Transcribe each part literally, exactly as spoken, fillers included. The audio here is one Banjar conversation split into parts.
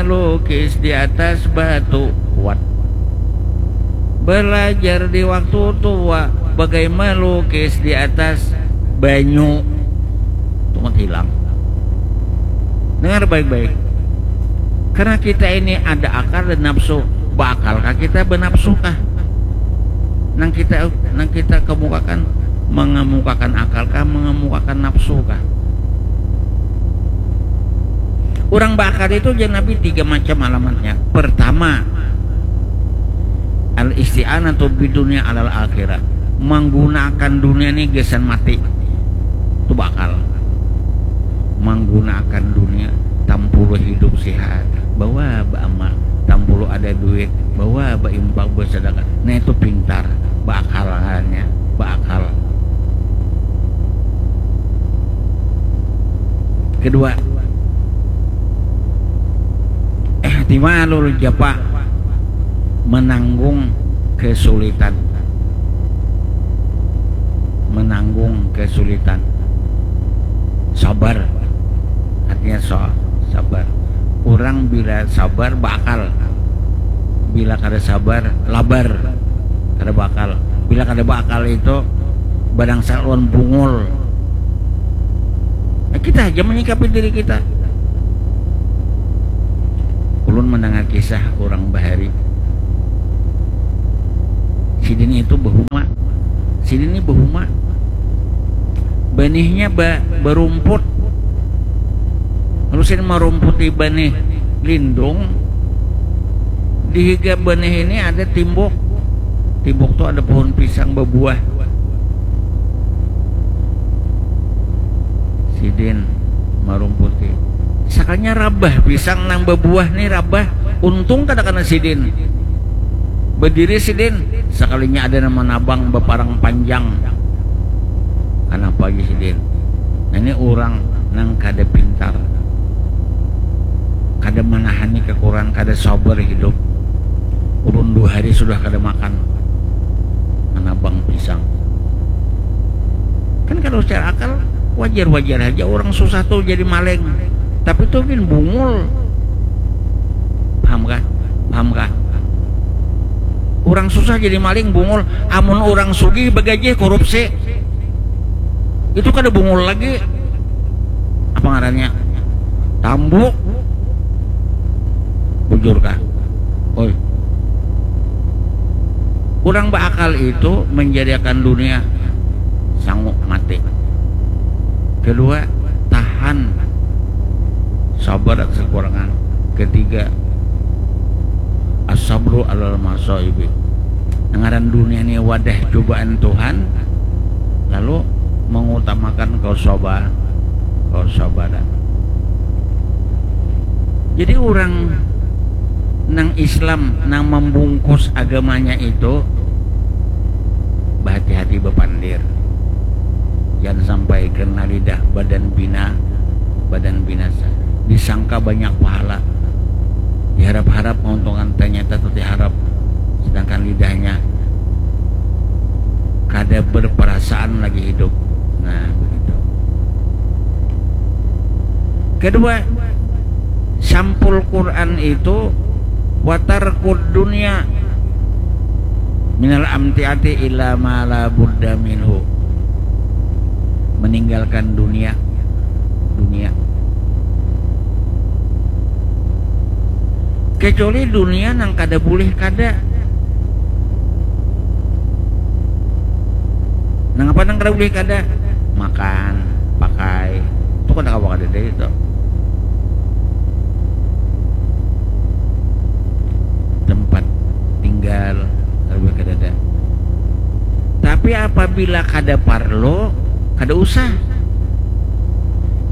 melukis di atas batu. Kuat. Belajar di waktu tua bagai melukis di atas banyu. Itu kan hilang. Dengar baik-baik. Karena kita ini ada akal dan nafsu. Baakalkah kita, benafsukah? Nang kita nang kita kemukakan, mengemukakan akalkah, mengemukakan nafsukah? Orang beakal itu, jar Nabi, tiga macam alamatnya. Pertama, al-isti'anatu bidunya alal akhirah. Menggunakan dunia ni gasan mati. Itu beakal. Menggunakan dunia, tampulu hidup sihat, bawa beramal, tampulu ada duit, bawa berimpak, bersedekah. Nah, itu pintar, beakal ngarannya, beakal. Kedua, ihtimalul jafa, menanggung kesulitan. Menanggung kesulitan. Sabar. Artinya so, sabar. Orang bila sabar, beakal. Bila kada sabar, labar. Kada beakal. Bila kada beakal itu, badangsa lawan bungul. Nah, kita aja menyikapi diri kita. Ulun mendengar kisah orang bahari. Sidin itu behuma. Sidin ini behuma. Benihnya ba, berumput. Lalu sidin merumputi benih lindung. Di higa benih ini ada timbuk. Timbuk tu ada pohon pisang bebuah. Sidin marumputi. Sakalinya rabah pisang nang bebuah ni, rabah. Untung kada kena sidin. Bediri sidin, sakalinya ada nang manabang beparang panjang. Kanapa lagi sidin? Nah, ini orang nang kada pintar. Kada manahani kekurangan, kada sabar hidup. Ulun dua hari sudah kada makan. Manabang pisang. Kan kalau secara akal, wajar-wajar aja orang susah tuh jadi maling. Tapi tuh gin bungul. Paham kah? Paham kah? Orang susah jadi maling, bungul. Amun orang sugih, begajih, korupsi. Itu kada bungul lagi. Apa ngarannya? Tambuk. Bujur kah? Oi. Orang beakal itu menjadikan dunia sanggup mati. Kedua, tahan. Sabar atas kekurangan. Ketiga, as-sabru alal masaibi. Ngaran dunia ni wadah cobaan Tuhan, lalu mengutamakan kesabar, kesabaran. Jadi orang nang Islam, nang membungkus agamanya itu berhati-hati, bepandir. Jangan sampai kena lidah badan bina, badan binasa. Disangka banyak pahala. Diharap-harap menguntungkan, ternyata tadi harap. Sedangkan lidahnya kada berperasaan lagi hidup. Nah, begitu. Kedua, sampul Quran itu watarkud dunia minal amtiati ila ma la budda minhu. Meninggalkan dunia, dunia. Kecuali dunia nang kada boleh kada. Nang apa nang kada boleh kada? Makan, pakai. Itu kada kawa kada dari itu. Tempat tinggal, kada boleh kada ada. Tapi apabila kada parlo, kada usah.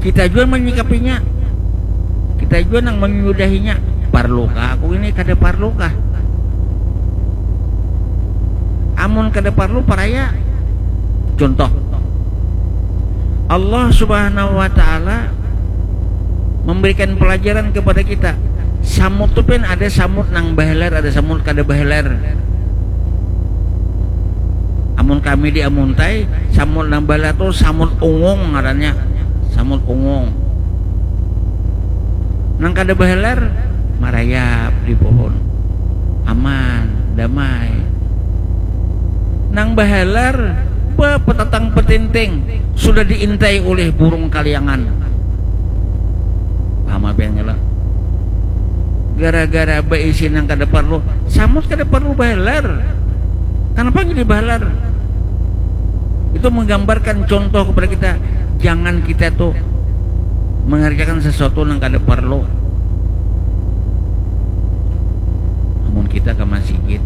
Kita jua menyikapinya. Kita jua nang menyudahinya. Parlukah aku ini? Kada parlukah? Amun kada parlu, paraya. Contoh, Allah Subhanahu wa Ta'ala memberikan pelajaran kepada kita. Samut tu pin ada samut nang bahalar, ada samut kada bahalar. Amun kami di Amuntai, samut nang bahalar tu samut ungung ngarannya. Samut ungung. Nang kada bahalar, Marayap di pohon. Aman, damai. Nang bahalar, bapetatang petinting, sudah diintai ulih burung kaliangan. Paham apa yang ngelak? Gara-gara baisi nang kada parlu, samut kada parlu bahalar. Kenapa jadi bahalar? Itu menggambarkan contoh kepada kita, jangan kita tuh mengerjakan sesuatu yang kada perlu. Namun kita ke masjid,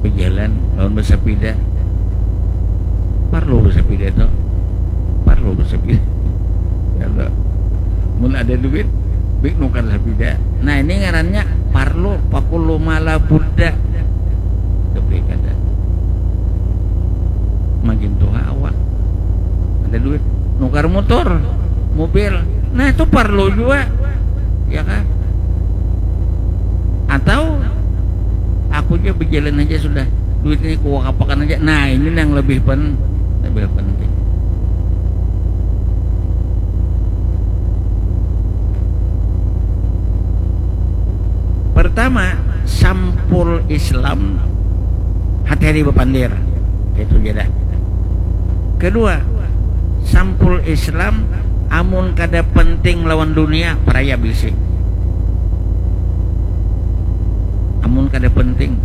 berjalan lawan bersepeda, perlu bersepeda tuh, perlu bersepeda. Kalau mun ada duit, bik nukar sepeda. Nah, ini ngarannya parlu, pakullu mala budda. Tapi kada. Makin tua awak, ada duit, nukar motor, mobil. Nah, itu parlu juga, ya kan? Atau aku aja berjalan aja sudah, duit ini kuwakapakan aja. Nah, ini yang lebih pen lebih penting. Pertama, sampul Islam hati-hati bapandir. Itu ja dah. Kedua, sampul Islam amun kada penting lawan dunia, paraya bisi. Amun kada penting,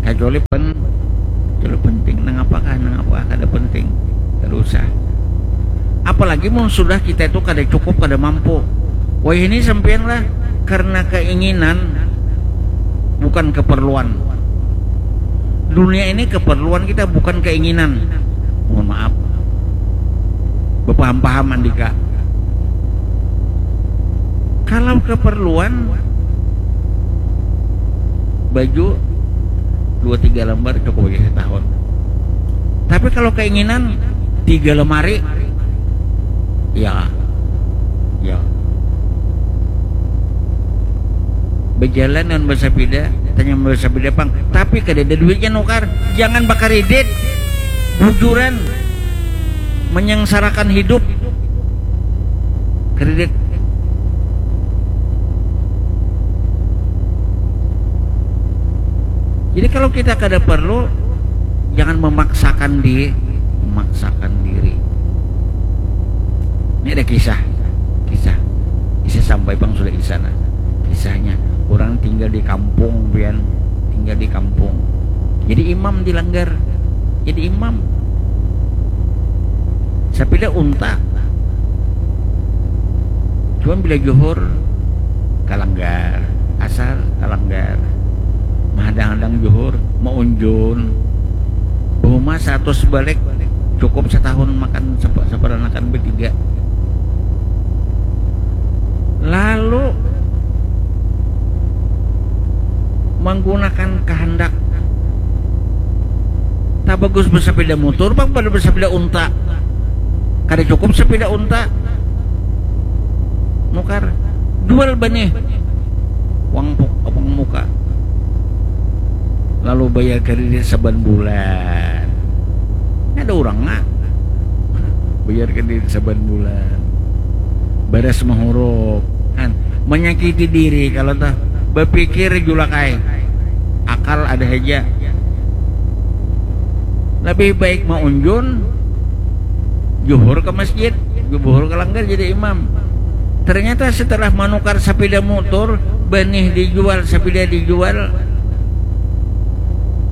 kecuali pen kecuali penting, nang apakah, nang apakah, kada penting, kada usah. Apalagi mun sudah kita itu kada cukup, kada mampu. Wah, ini sampean lah karena keinginan, bukan keperluan. Dunia ini keperluan kita, bukan keinginan. Mohon maaf, bepaham-paham andika. Kalau keperluan, baju dua tiga lembar cukup aja setahun. Tapi kalau keinginan, tiga lemari, ya, ya. Berjalan dengan bersepeda, tanya bersepeda pang, tapi kada ada duitnya nukar. Jangan bakar idit, bujuran, menyengsarakan hidup. Kredit. Jadi kalau kita kada perlu, jangan memaksakan di memaksakan diri. Ini ada kisah, kisah, kisah sampai bang sudah di sana. Kisahnya, orang tinggal di kampung, pian, tinggal di kampung. Jadi imam di langgar, jadi imam. Sapida unta. Cuman bila juhur kalanggar, asar kalanggar, mahadang-hadang juhur, maunjun. Bahuma seratus balik cukup setahun makan seperanakan bertiga. Lalu menggunakan kehendak. Tak bagus bersepeda motor, bang, pada bersepeda unta. Kada cukup sepeda unta. Nukar, jual banih. Uang, uang muka. Lalu bayar kredit saban bulan. Ada orang nggak? Bayar kredit saban bulan. Baras mahuruk. Kan, menyakiti diri kalau tuh. Berpikir julakai. Akal ada aja. Lebih baik maunjun, juhur ke masjid, juhur ke langgar jadi imam. Ternyata setelah menukar sepeda motor, benih dijual, sepeda dijual,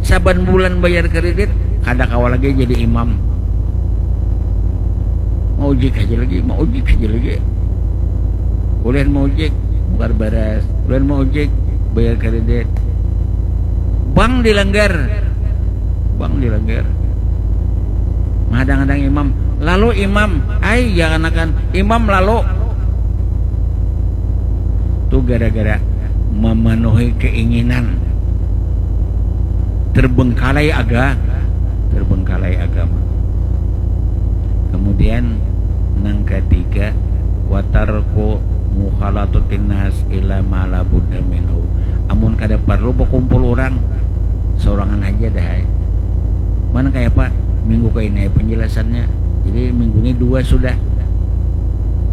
saban bulan bayar kredit, kada kawa lagi jadi imam. Mau ujik aja lagi, mau ujik aja lagi. Ulian mau ujik, bukar baras. Ulian mau ujik, bayar kredit. Bang dilanggar. Bang dilanggar. Mahadang-hadang imam. Lalu imam, ai, ya kanakan. Imam lalu. Tu gara-gara memenuhi keinginan. Terbengkalai aga, terbengkalai agama. Kemudian nang ketiga, watarku mukhalatutin nas ila ma la budda minhu. Amun kada perlu berkumpul orang, sorangan aja dah ai. Mana kayak apa? Minggu ke ini penjelasannya. Jadi minggu ini dua sudah.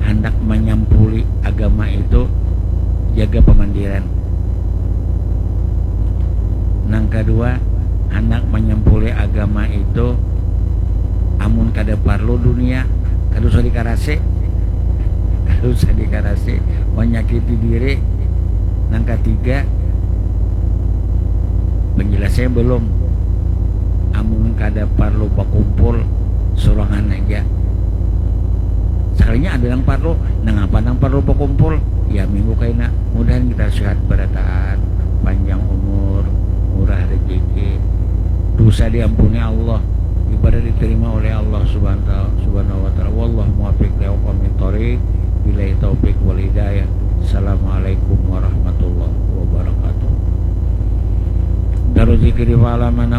handak manyampuli agama itu jaga pamandiran. Nang kadua, handak manyampuli agama itu amun kada parlu dunia, kada usah dikarasi. Kada usah dikarasi, manyakiti diri. Nang katiga, penjelasnya belum. Amun kada parlu bakumpul, surangan aja. Sakalinya ada nang parlu, nangapa nang parlu bakumpul? Ya minggu kaina. Mudahan kita sehat barataan, panjang umur, murah rezeki, dosa diampuni Allah, ibadah diterima oleh Allah Subhanahu Subhanahu wa Ta'ala. Wallahu muwaffiq ila aqwamit thoriq. Billahi taufiq wal hidayah. Assalamualaikum warahmatullahi wabarakatuh. Darul zikri fa'ala man